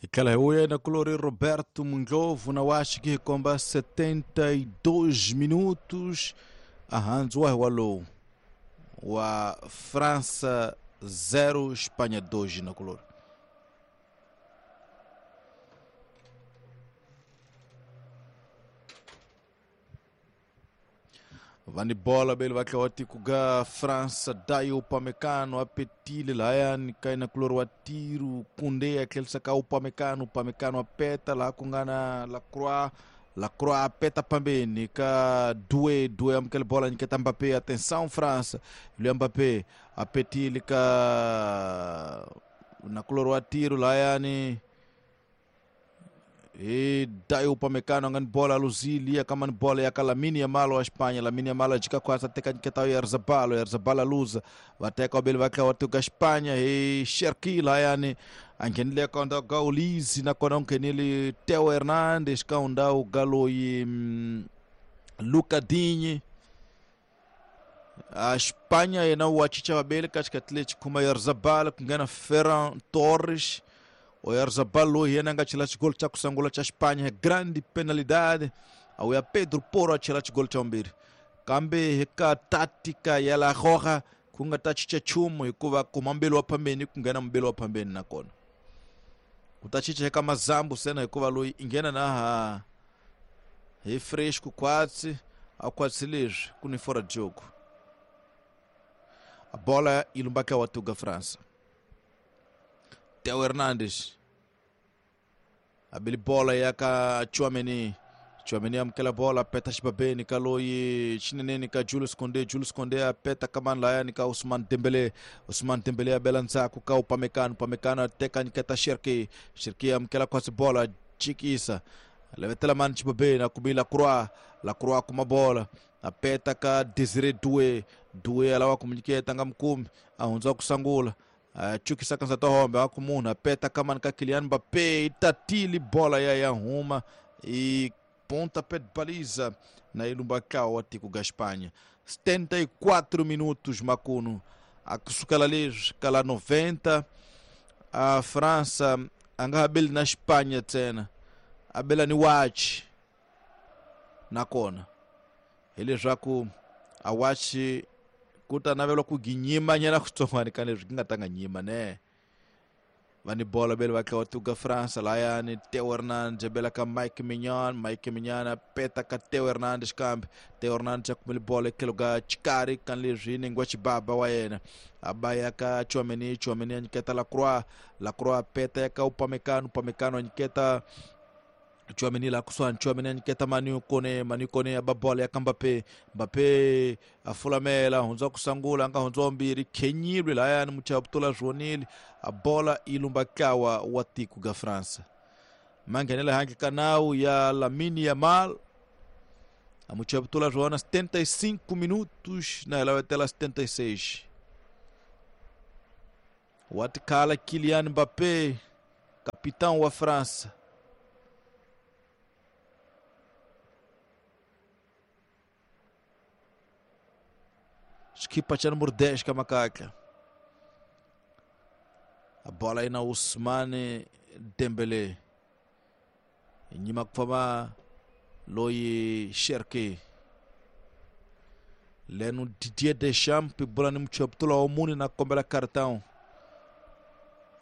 Hi tlhela hi vuya na kulori Roberto Mundlovu na waxi hi komba 72 minutos ahandzu wa hi walowu wa França 0 Espanha 2 na kulori. Vani bola bele va tlawa tiko ga França Dayo Upamecano apetile lahayani ka na kulori wa tiro Kunde a tlherisa ka Upamecano, Upamecano apeta laha ku nga na Lacroix, Lacroix apeta pambeni ka Doué, Doué amukela bola nyiketa Mbappé, atenção França, loyi Mbappé apetile ka na kulori wa tiro lahayani e Dayo Upamecano nga ni bola Luzili kama ni bola ya Lamine Yamal wa Espanha. Lamine Yamal ajika kwasa teka nyiketa Oyarzabal, Oyarzabal aluza va teka obeli va tlawa tiko Espanha e Cherki lahayani a nghenile ka ndhawu ka Ulizi nakona u nghenile Theo Hernandez ka ndhawu ka loyi Luca Digne. A Espanha yena wa chicha vabeli ka xikati lexi khuma Oyarzabal ku nghena Ferran Torres. Oyarzabal loyi yena a nga chela xigolo xa ku sungula xa Espanha, grande penalidade. A wuya Pedro Porro a chela xigolo xa vumbirhi, kambe hi ka tática ya La Roja ku nga ta chicha nchumu hikuva kuma mbeli wa phambeni ku nghena mbeli wa phambeni nakona ku ta chicha eka mazambu sena hikuva loyi i nghena na ha hi fresh ku khwatsi a khwatsi leswi ku ni fora jogo. A bola yi lumba ka wa tuga França. Theo Hernandez abili bola ya ka Tchouameni, Tchouameni amukela bola apeta xibabeni ka loyi xineneni ka Jules Koundé, Jules Koundé apeta ka mani layani ka Ousmane Dembélé, Ousmane Dembélé abela ndzhaku ka Upamecano, Upamecano ateka nyiketa Cherki, Cherki amukela khwatsi bola jikisa levetela mani xibabeni a kumile Lacroix, Lacroix kuma bola apeta ka Desiré Doué, Doué alawa ku nyiketa nga mukumi a hundza ku sangula chukisa ka nsati hombe a ku munhu apeta ka mani ka Kylian Mbappé i tatile bola ya ya huma i pontapé de baliza na ilumba wa tiko ga Espanha. 74 minutos makuno a kusukela leswi kala 90 a França a nga ha beli na Espanha ntsena, a bela ni wachi nakona hileswaku a wachi ku ta navela ku ginyimanyana kutsongwani ka leswi ku nga ta nga nyima ne. Va ni bola bele va tlawa tuga França layani Theo Hernandez bela ka Mike Mignon, Mike Mignon apeta ka Theo Hernandez kambe Theo Hernandez a kumile bola etlhelo ka xikari ka leswi nenge wa xibaba wa yena a ba ya ka Tchouameni, Tchouameni a nyiketa Lacroix, Lacroix apeta ya ka Upamecano, Upamecano a nyiketa Tchouameni la kusuhani, Tchouameni a nyiketa Manu Kone, Manu Kone a ba bola ya ka Mbappé, Mbappé a fulamela hundza ku sangula a nga hundza wambirhi khenyilwe lahayani muchaputula swonile a bola yi lumba tlawa wa tiko ga França. Ma nghenela handle ka nawu ya Lamine Yamal a muchaputula swona 75 minutos na hi lavetela 76 wa tikhala Kylian Mbappé capitão wa França. Xikipa xa número 10 ka makatla. A bola yi na Ousmane Dembélé. Nyima ku famba loyi Cherki. Leno Didier Deschamps bula ni muchaputula wa mune na kombela cartão.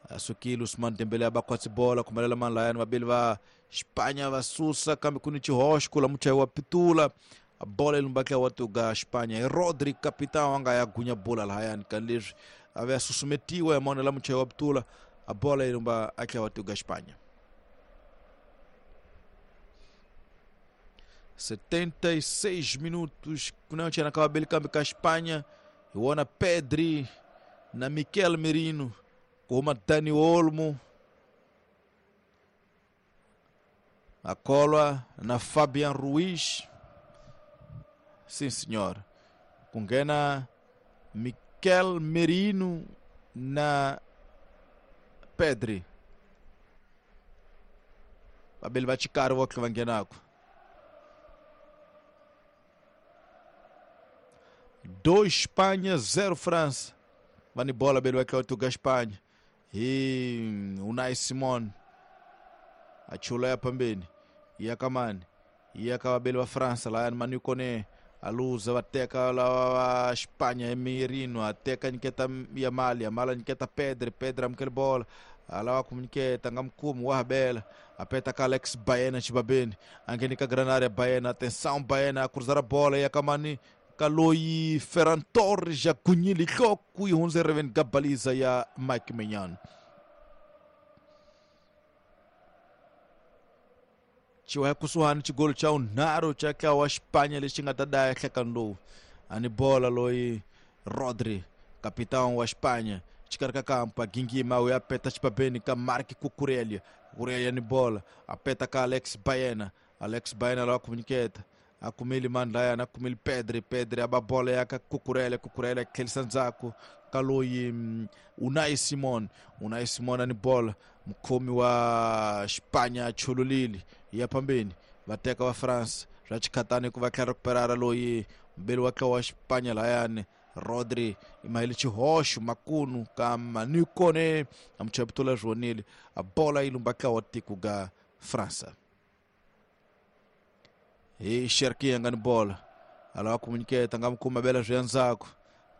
A sukile Ousmane Dembélé a ba khwatsi bola kumbelela mani layani vabeli va Espanha va susa kambe ku ni xihoxo ku la muchayi wa pitula. A bola yi lumba wa tuga Espanha hi Rodri capitão a nga ya gunya bola lahayani ka leswi a ve a susumetiwa ya mona la muchayi wa pitula a bola yi lumba a tlhela wa tuga Espanha. 76 minutos kuna chana ka vabeli kambe ka Espanha hi wona Pedri na Mikel Merino ku huma Dani Olmo a kolwa na Fabian Ruiz. Sim senhor, ku nghena Mikel Merino na Pedri vabeli va xikari vo tlhe va nghenaku. 2 Espanha 0 França. Va ni bola beli va tlhela tuga Espanha hi Unai Simon. A chula ya pambeni ya kamani ya ka vabeli va Fransa layani Manu Kone a luza va teka lava va Espanha hi Merino a teka nyiketa ya mali ya mali nyiketa Pedri Pedri amukele bola a lava ku nyiketa nga mukumi wa habela a peta ka Alex Baena xibabeni a ngheni ka grande área Baena atenção Baena a cruzar a bola ya kamani ka loyi Ferran Torres ya gunyile nhloko yi hundze riveni ka baliza ya Mike Maignan. Chiwa kusuhani xigolo xa vunharhu xa ntlawa wa Xipanya lexi nga ta daya nhlekani lowu ani bola loyi Rodri capitão wa Espanha xikarhi ka kampa gingima u ya peta xibabeni ka Marc Cucurella Cucurella ni bola a peta ka Alex Baena Alex Baena lava ku nyiketa a kumile mani layani a kumile Pedri Pedri a ba bola ya ka Cucurella Cucurella tlhelisa ndzhaku ka loyi Unai Simon Unai Simon ani bola mukhomi wa Xipanya chululile ya phambeni va teka va France swa xikhatani ku va tlhela recuperara loyi mbeli wa tlawa wa Xipanya layani Rodri imahele xihoxo makunu ka Manu Kone amuchapitula zvonile a bola yi lumba tlawa tiko ga França hi Cherki nga ni bola a lava ku nyiketa nga mukuma bela swi ya ndzhaku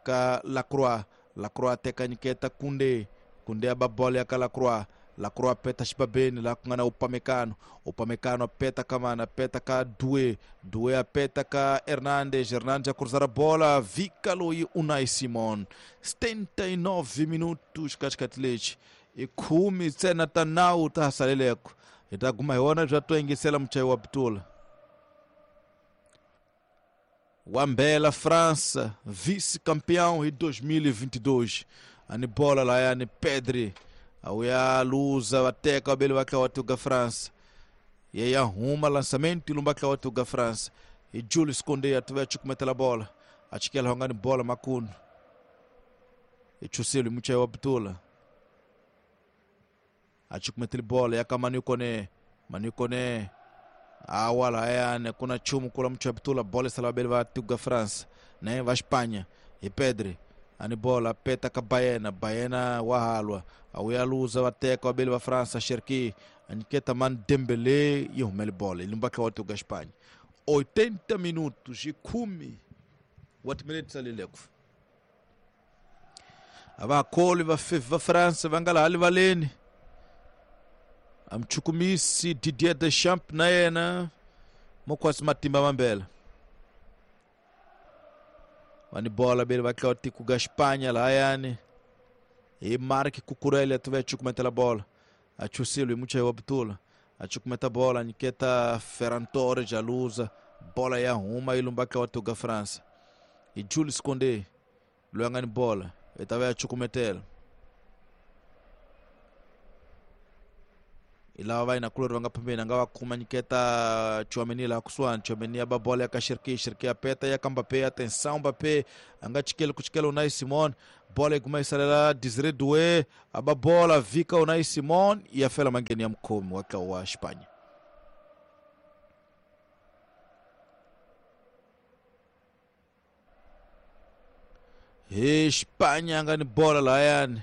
ka Lacroix Lacroix teka nyiketa Kunde Kunde ya ba bola ya ka Lacroix Lacroix peta xibabeni laha ku nga na Upamecano Upamecano peta ka mana peta ka Doué Doué apeta ka Hernandez Hernandez a cruzar a bola vika loyi Unai Simon 79 minutos ka xikati lexi i khume ntsena ta nawu ta ha saleleko hi ta guma hi wona bya to yingisela muchayi wa bitula Wambela França, vice-campeão em 2022. Ani bola layani Pedri auya luza vateka vabeli va tlawa tuga França. Ye ya huma lançamento ilumba tlawa tuga França. E Jules Koundé atuve chukumetela bola. Achikela hongani bola makunu. E chuselu muchayi wa bitula. Achukumetela bola yaka Manu Kone. Manu Kone awa layani kuna chumu kula mchabitula bola sala bele va tuga France ne va Espanha e Pedri ani bola peta ka Baena Baena wa halwa awuya luza va teka vabeli va França Cherki aniketa man Dembélé yi humele bola ilumba ka wa tuga Espanha 80 minutos e khume wa timinete saleleko a va kholi va va France va nga laha livaleni amchukumisi Didier Deschamps na yena mokwasi matimba mambela vani bola bele va tlawa tiko ga Espanha layani hi Marc Cucurella tuve chukumetela bola a chusilo hi muchayi wa bitula a chukumeta bola nyiketa Ferran Torres a luza bola ya huma yi lumba tlawa tiko ga France hi Jules Koundé loyi a nga ni bola i ta va ya chukumetela ilava va inakulori va nga phambeni a nga va kuma nyiketa Tchouaméni laha kusuhani Tchouaméni ya ba bola ya ka Cherki Cherki ya peta ya ka Mbappé atenção Mbappé a nga chikeli ku chikela Unai Simon bola yi guma yi salela Desiré Doué a ba bola vika Unai Simon ya fela mangheni ya mukhomi wa tlawa wa Espanha. Hi Espanha a nga ni bola lahayani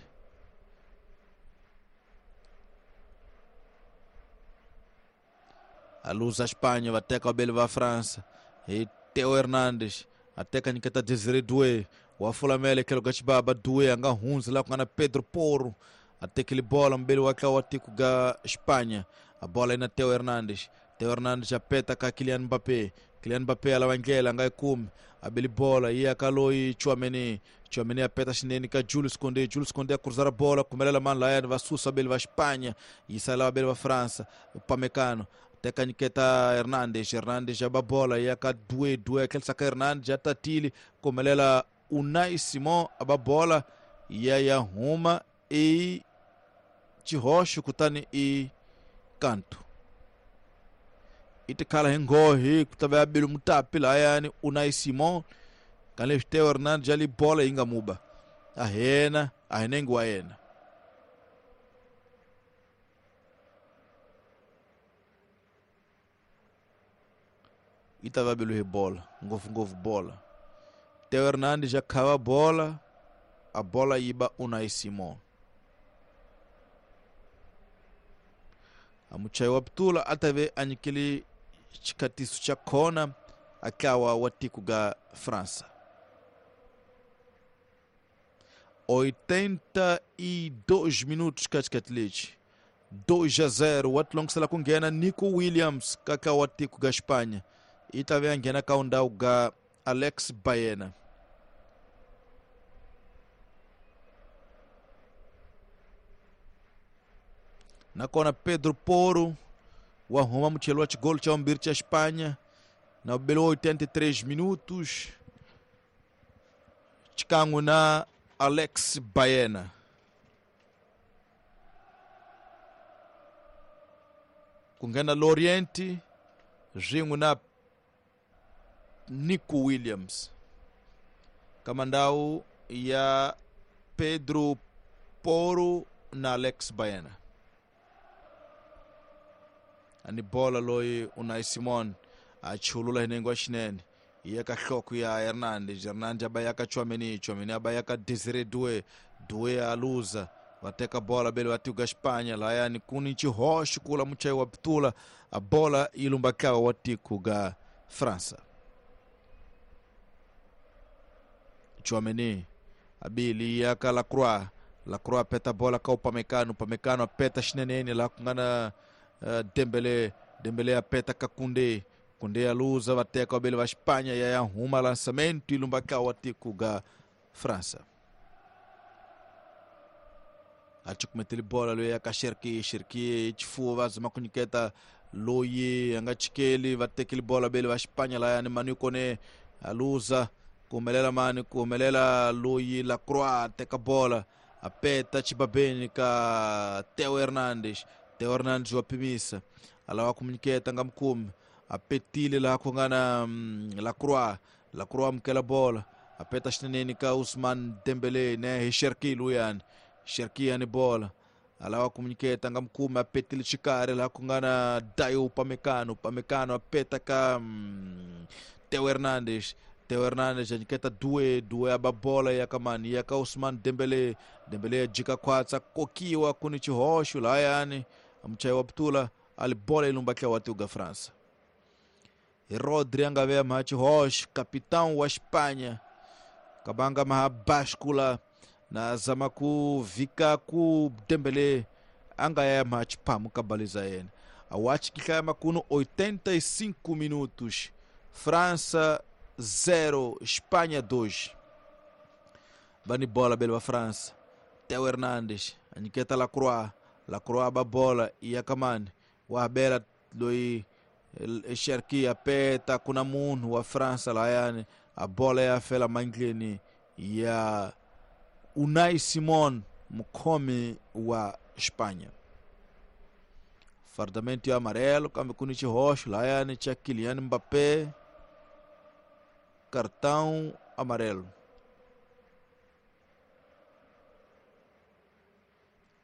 a luza Espanha va teka vabeli va França hi Theo Hernandez a teka nyiketa Desiré Doué wa fulamele tlhelo ka xibaba Doué a nga hundzi laha ku nga na Pedro Porro a tekile bola mubeli wa tlawa wa tiko ga Espanha a bola yi na Theo Hernandez Theo Hernandez a peta ka Kylian Mbappé Kylian Mbappé a lava ndlela a nga yi kumi a beli bola yi ya ka loyi Tchouaméni Tchouaméni a peta xinene ka Jules Koundé Jules Koundé a cruzar bola kumelela mani layani va susa vabeli va Espanha yisa lava vabeli va França Upamecano teka nyiketa Hernandez Hernandez ya ba bola ya ka Doué Doué tlhelisa ka Hernandez ya tatile kumelela Unai Simon a ba bola ya ya huma i xihoxo kutani i kanto i tikhala hi nghohe ku ta va ya bele mutapi lahayani Unai Simon ka leswi Theo Hernandez ya li bola yi nga muba a hena a hi nengi wa yena yi ta va beliwe hi bola ngopfungopfu bola Theo Hernandez a khava bola a bola yi ba Unai Simon Muchayi wa pitula a ta ve a nyikele xikhatiso xa khona a ntlawa wa tiko ga França. 82 minutos ka xikati lexi, 2-0 wa tilongisela ku nghena Nico Williams ka ntlawa wa tiko ga Espanha. I ta ve a nghena ka ndhawu ga Alex Baena. Nakona Pedro Porro wa huma muchelo wa xigolo xa vumbirhi xa Espanha na ubeliwa 83 minutos xikan'we na Alex Baena. Ku nghena Loriente swin'we na Nico Williams kama ndhawu ya Pedro Porro na Alex Baena. Ani bola loyi Unai Simon a chulula hi nenge wa xinene ya ka nhloko ya Hernandez. Hernandez a ba ya ka Tchouameni, Tchouameni a ba ya ka Desiree Doué, Doué a luza, va teka bola bele va tiko Espanha layani kuni xihoxo kula muchayi wa pitula a bola yi lumba ntlawa wa tiko ga França. Tchouameni abili ya ka Lacroix, Lacroix peta bola ka Upamecano, Upamecano apeta xinenene laha ku nga na Dembele, Dembele apeta ka Koundé, Koundé a luza, va teka vabeli va Espanha ya ya huma lançamento yi lumba ntlawa wa tiko ga França. A cukumeteli bola loyi ya ka Cherki, Cherki xifuva zama ku nyiketa loyi a nga chikeli, va tekeli bola beli va Espanha layani Manu Kone a luza, ku humelela mani, ku humelela loyi Lacroix teka bola a peta xibabeni ka Theo Hernandez. Theo Hernandez wa pimisa a lava ku nyiketa nga mukumi, a petile laha ku nga na Lacroix, Lacroix amukela bola a peta xineneni ka Ousmane Dembele ne hi Cherki luyani, Cherki yani bola a lava ku nyiketa nga mukumi, a petile xikarhi laha ku nga na Dayo Upamecano, Upamecano a peta ka Theo Hernandez, Theo Hernandez a nyiketa Doué, Doué a ba bola ya ka mani, ya ka Ousmane Dembele, Dembele ya jika khwatsa kokiwa ku ni xihoxo lahayani, muchayi wa pitula a li bola yi lumba ntlawa wa tiko ga França. Hi Rodri a nga veya mha xihoxo, capitão wa Espanha kabanga maha bashkula na zama ku vika ku Dembele a nga ya mha xiphamu ka baliza yena. A wachi kihlaya makuno 85 minutos, França 0, Espanha 2. Va ni bola bele va França. Theo Hernandez a nyiketa Lacroix, Lacroix ba bola ya kamani wa bela loyi Cherki a peta kuna munhu wa França layani a bola ya fela mandleni ya Unai Simon mukhomi wa Espanha. Fardamento ya amarelo kambe ku ni xihoxo layani xa Kylian Mbappé, cartão amarelo.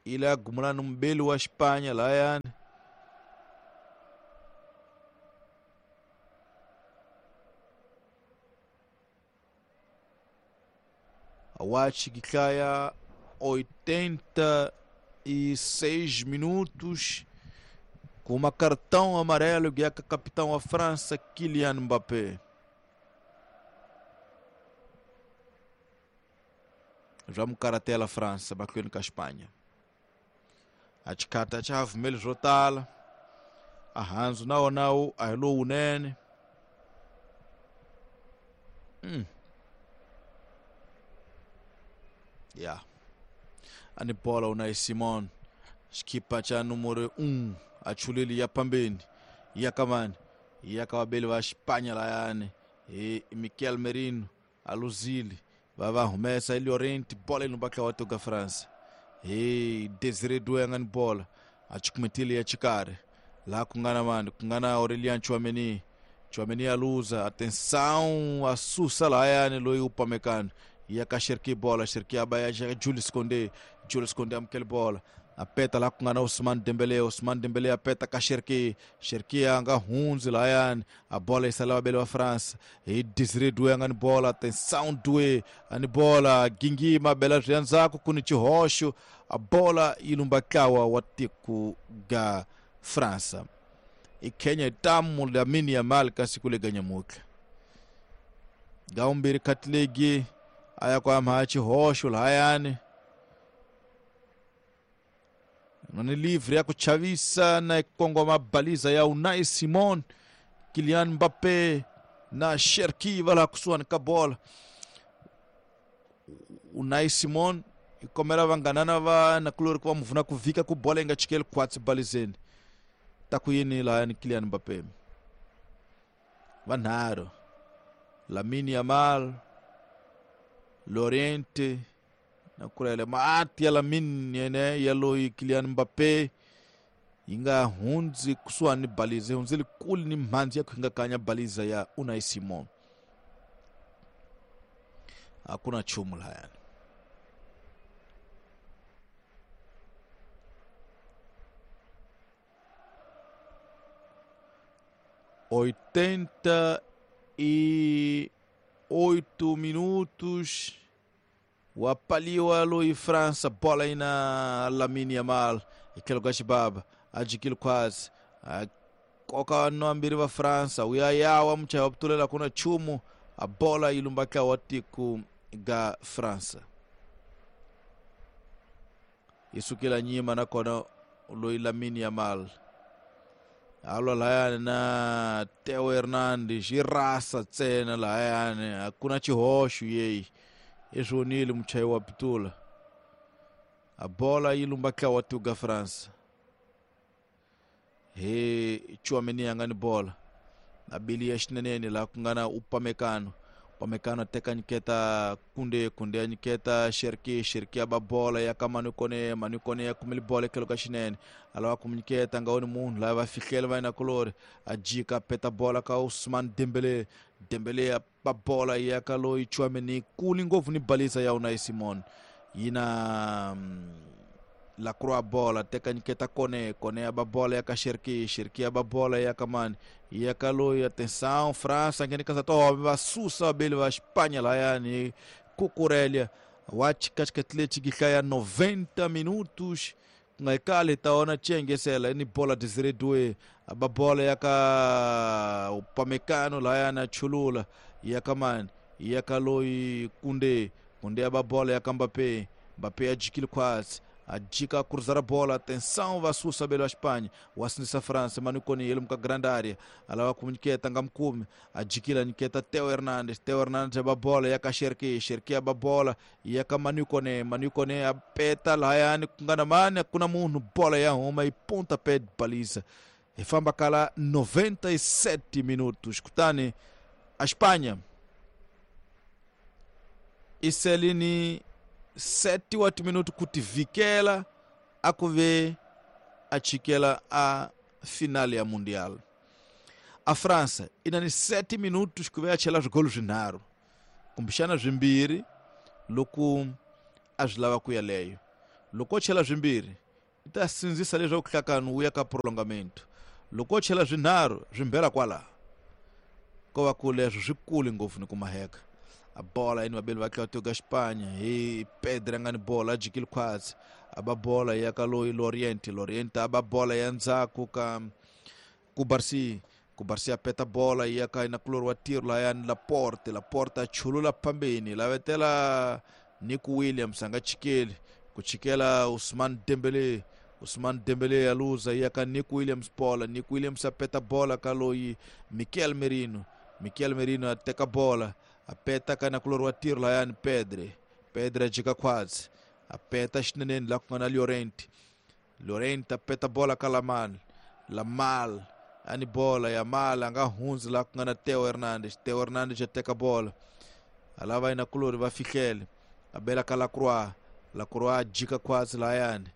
Ile a gumula no mbeli wa Espanha layani. Awachi kihlaya 86 minutos com uma cartão amarelo que é capitão da França Kylian Mbappé. Vamos karatela França bakwenu ka Espanha. A chikata cha vermelho zwo tala, a hanzu na wona wu a hi lowunene. Ya ani bola Unai Simon xikipa xa numero 1 a chuleli ya pambeni ya kamani ya ka vabeli va Espanha layani hi Mikel Merino a luzile va va humesa hi Llorente, bola yi lumba ntlawa wa tiko França. Hi Desiree Doué a nga ni bola a cukumetile ya xikarhi laha ku nga na mani, ku nga na Aurelien Tchouameni, Tchouameni a luza, atenção a susa layani loyi Upamecano ya ka Cherki bola, Cherki a ba ya Jules Koundé, Jules Koundé amukele bola a peta laha ku nga na Ousmane Dembele, Ousmane Dembele a peta ka Cherki, Cherki a nga hundzi layani a bola yi sala vabeli va França. Hi Desiree Doué a nga ni bola, atenção Doué a ni bola gingima bela swi ya ndzhaku ku ni xihoxo, a bola yi lumba ntlawa wa tiko ga França i Kenya tamu Lamine Yamal kasi kule ganyamuka gaumbiri katlegi aya kwa mhachi hosho lahayani nani livre ya kuchavisa na kongoma baliza ya Unai Simon, Kylian Mbappe na Cherki vala kusuani kabola. Unai Simon ikomera vanganana va na kulori kwa mvuna kuvika kubola inga chikele kwatsi balizeni takuyini lahayani Kylian Mbappe vanharo Lamine Yamal Lorente na kurele maati ya Lamine yene yalo Kylian Mbappe inga hunzi kusuani balize hunzi likuli ni mhanzi ya kuhinga kanya baliza ya Unai Simon hakuna chumu lahayani. Oitenta e oito minutos wapaliwa loi França bola aí na Lamine Yamal ikelo gashibaba ajikil quase koka nombiri wa França uyayawa mcha waptulela kuna chumu a bola ilumbaka watiku ga França isukila nyima na kona loi Lamine Yamal alwa layani na Theo Hernandez irasa tsena layani hakuna chihoshu yeyi eswonile muchayi wa pitula a bola ilumbaka watuga França he Tchouaméni yanga ni bola abili ya xinenene la ku nga na Upamecano Upamecano teka nyiketa Kunde Kunde ya nyiketa Cherki Cherki aba bola ya ka Manu Kone Manu Kone ya kumile bola etlhelo ka xinene alava ku nyiketa nga woni munhu lava va fihlela va yena kulori a jika peta bola ka Ousmane Dembélé Dembélé ya ba bola ya ka loyi Tchouaméni kuli ngopfu ni balisa ya Unai Simon yina La Croix bola teka nyiketa Kone Kone ya ba bola ya ka Cherki Cherki ya ba bola ya ka mani ya ka loyi atenção França ngene ka to va susa bele va Espanha layani Cucurella wa chikachikatleti gihlaya 90 minutos ngaikale taona chengesela ni bola Desiré Doué aba bola ya ka Upamecano layana chulula ya ka mani ya ka loyi Kunde Kunde aba bola ya ka Mbappé Mbappé ajikile quase a dica cruzar a bola, atenção, Vassu sabelo a Espanha, o assinisa França, Manu Kone, ele muka grande área, alawa kuminiketa ngamkumi, a dikila niketa Theo Hernandez a bola, yaka Cherki, Cherki a bola, yaka Manu Kone a peta layani kungana mane, kuna munhu bola ya uma e pontapé de baliza. E famba kala 97 minutos, kutani a Espanha. Iselini 7 8 minutos kuti vikela akuve achikela a final ya mundial. A França inani 7 minutos kuve achela zwigolo zwinharhu kumbixana swimbirhi loko a swi lava ku yaleyo loko o chela swimbirhi i ta sindzisa leswaku nhlakano wu ya ka prolongamento loko o chela swinharhu swimbela kwalaho ko va ku leswo swi kule ngopfu ni ku maheka. A bola ini vabeli va Atlético Espanha hi Pedro nga ni bola ajikile khwatsi aba bola ya ka loyi Lorient Lorient aba bola ya ndzhaku ka Kubarsi Kubarsi apeta bola ya ka ina kulori wa tiro layani Laporte Laporte achulula phambeni lavetela Nico Williams anga chikeli ku chikela Ousmane Dembélé Ousmane Dembélé aluza ya ka Nico Williams bola Nico Williams apeta bola ka loyi Mikel Merino Mikel Merino ateka bola apeta kana kulori wa tiro layani Pedre Pedre ajika khwatsi apeta xineneni la ku nga na Llorente Llorente apeta bola ka Lamal Lamal ani bola Yamal a nga hundzi la ku nga na Theo Hernandez Theo Hernandez ateka bola alava ina kulori va fihlele abela ka Lacroix Lacroix ajika khwatsi layani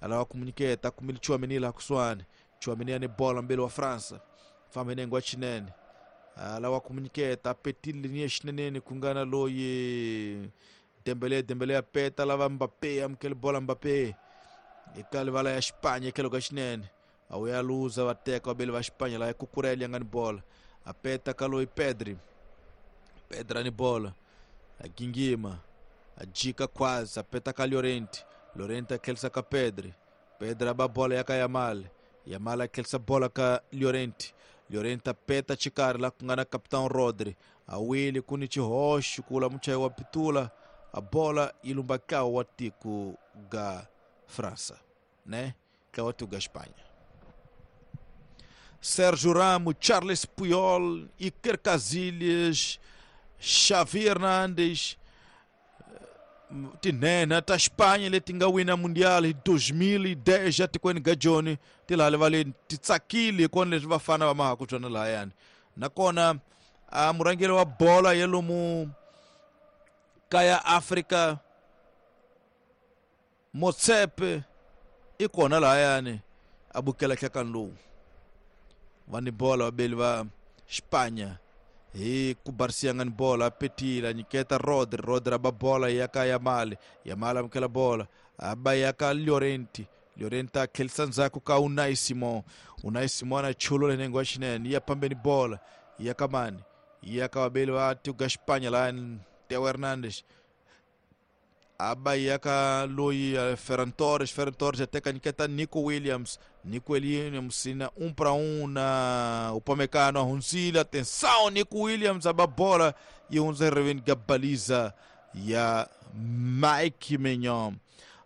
alava ku munyiketa a kumile Tchouaméni laha kusuhani Tchouaméni ani bola mbeli wa França famba hi nenge wa xinene alawa ku munyiketa apetile ni xineneni ku nga na loyi Dembélé Dembélé apeta lava Mbappé amukele bola Mbappé eka livala ya Espanha etlhelo ka xinene a wu ya luza va teka vabeli va Espanha laha Cucurella nga ni bola apeta ka loyi Pedri Pedri ani bola a gingima a jika quase apeta ka Llorente Llorente a tlherisa ka Pedri Pedri aba bola ya ka Yamal Yamal a tlherisa bola ka Llorente. Llorente a peta xikarhi laha ku nga na Capitão Rodri. A wile ku ni xihoxo ku la muchayi wa pitula a bola yi lumba ntlawa wa tiko ga França, né? Ntlawa wa tiko ga Espanha. Sérgio Ramos, Charles Puyol, Iker Casillas, Xavi Hernandez, tinhenha ta Espanha leti nga wina Mundial hi 2010 etikweni ga Joni ti laha rivaleni ti tsakile hikona leswi vafana va mahaku swona lahayani. Nakona a murhangeri wa bola ya lomu kaya Afrika Motsepe i kona lahayani a bukela nhlekani lowu. Va ni bola vabeli va Espanha hi ku Barcia nga ni bola a petile a nyiketa Rodri. Rodri a ba bola ya ka Yamal. Yamal amukela bola a ba ya ka Llorente. Llorente a tlherisa ndzhaku ka Unai Simon. Unai Simon a chulula nenge wa xinene ya phambeni bola ya ka mani ya ka vabeli va tiko ga Espanha lahayani Theo Hernandez a ba ya ka loyi Ferran Torres. Ferran Torres a teka nyiketa Nico Williams. Nico Williams na 1 para 1 na Upamecano a hundzile. Atenção, Nico Williams a ba bola yi hundza eriveni ga baliza ya Mike Maignan.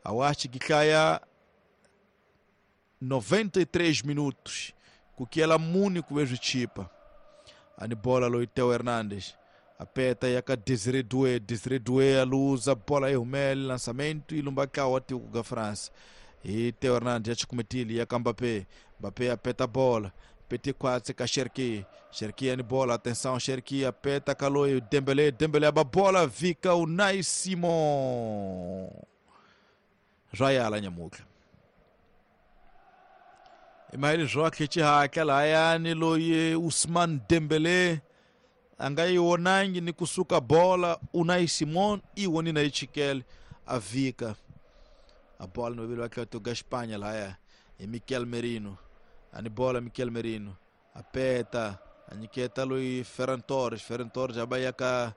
A wa xigihlaya 93 minutos ku kiyela muni ku ve swi chipa. A ni bola loyi Theo Hernandez a peta ya ka Desiré Doué. Desiré Doué a luza bola yi humele lançamento yi lumba ntlawa wa tiko ga France hi Theo Hernandez ya chikumetile ya ka Mbappé. Mbappé a peta bola peti khwatsi ka Cherki. Cherki ya ni bola. Atenção, Cherki a peta ka loyi Dembélé. Dembélé a ba bola vika Unai Simon. Swa yala nyamutlha i maheli swa xihatla lahayani loyi Ousmane Dembélé a nga yi vonangi ni kusuka bola. Unai Simon i vonile yi chikele a vika a bola ni vavili va tlhela ga Espanha lahaya hi Mikel Merino. A ni bola Mikel Merino a peta a nyiketa loyi Ferran Torres. Ferran Torres a ba ya ka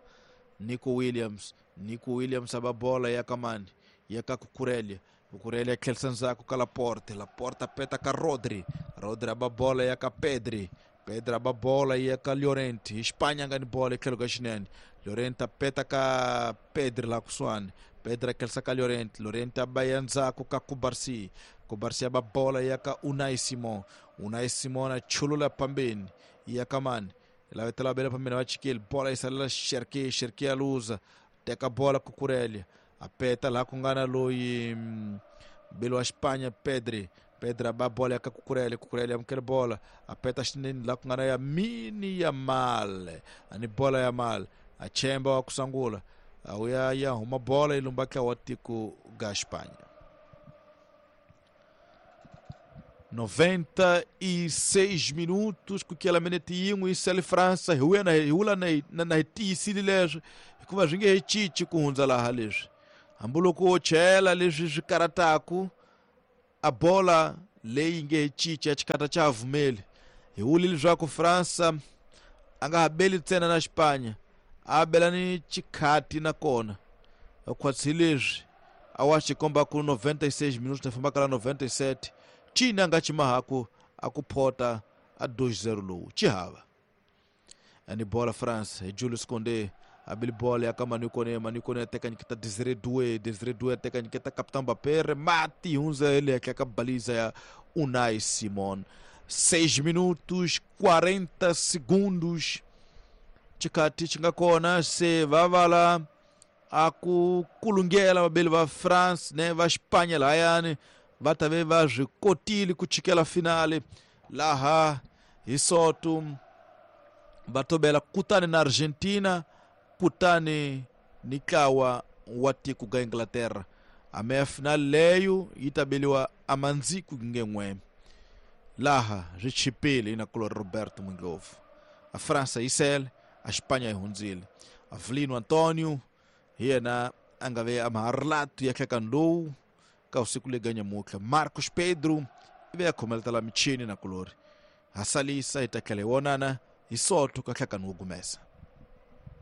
Nico Williams. Nico Williams a ba bola ya ka mani ya ka Cucurella. Cucurella tlherisa ndzhaku ka Laporte. Laporte a peta ka Rodri. Rodri a ba bola ya ka Pedri. Pedri a ba bola ya ka Llorente. Espanha nga ni bola etlhelo ka xinene. Llorente a peta ka Pedri laha kusuhani. Pedri a tlherisa ka Llorente. Llorente a ba ya ndzhaku ka Cubarsí. Cubarsí a ba bola ya ka Unai Simon. Unai Simon a chulula phambeni ya ka mani lavetela bela phambeni va chikile bola yi salela Cherki. Cherki a luza teka bola Cucurella a peta laha ku nga na loyi belo wa Espanha Pedri. Pedri a ba bola ya ka Cucurella. Cucurella amukela bola a peta xinene laha ku nga na Yamini Yamal. A ni bola Yamal a chemba wa ku sungula a wuya ya huma bola yi lumba ntlawa wa tiko ga Espanha. 96 minutos ku kela minete yin'we yi sale França hi wuya na hi wula na na hi tiyisile leswi hikuva swi nge he cinci ku hundza laha leswi hambiloko wo chela leswi swi karataku a bola leyi nge he cinci ya xikhata xa ha vumeli. Hi wule leswaku França a nga ha beli ntsena na Espanha a bela ni xikhati nakona khwatsi hi leswi a wa xi komba ku 96 minutos na fambaka la 97 cini a nga cimahaku a ku phota a 2-0 lowu xihava. Ani bola France hi Julius Koundé a bili bola ya ka Manu Kone. Manu Kone a teka nyiketa Desiré Doué. Desiré Doué a teka nyiketa Capitão Mbappé remate hundza hi le henhla ka baliza ya Unai Simon. 6 minutos 40 segundos xikhathi xi nga kona se va vala a ku kulungela vabeli va France ne va Espanha lahayani va ta ve va swi kotile ku chikela finale laha hi soto va tovela kutani na Argentina kutani ni ntlawa wa tiko ga Inglaterra. A meya finale leyo yi ta beliwa amandziku nge n'we laha swi chipile na kulori Roberto Mundlovu. A França yi sele a Espanha yi hundzile. Avelino Antonio hi yena a nga ve a maharlatu ya nhlekani lowu ka vusiku lega nyamutlha. Marcos Pedro i ve a khomeletela la michini na kulori. Ha salisa hi ta tlhela hi vonana hi soto ka nhlekani wo gumesa.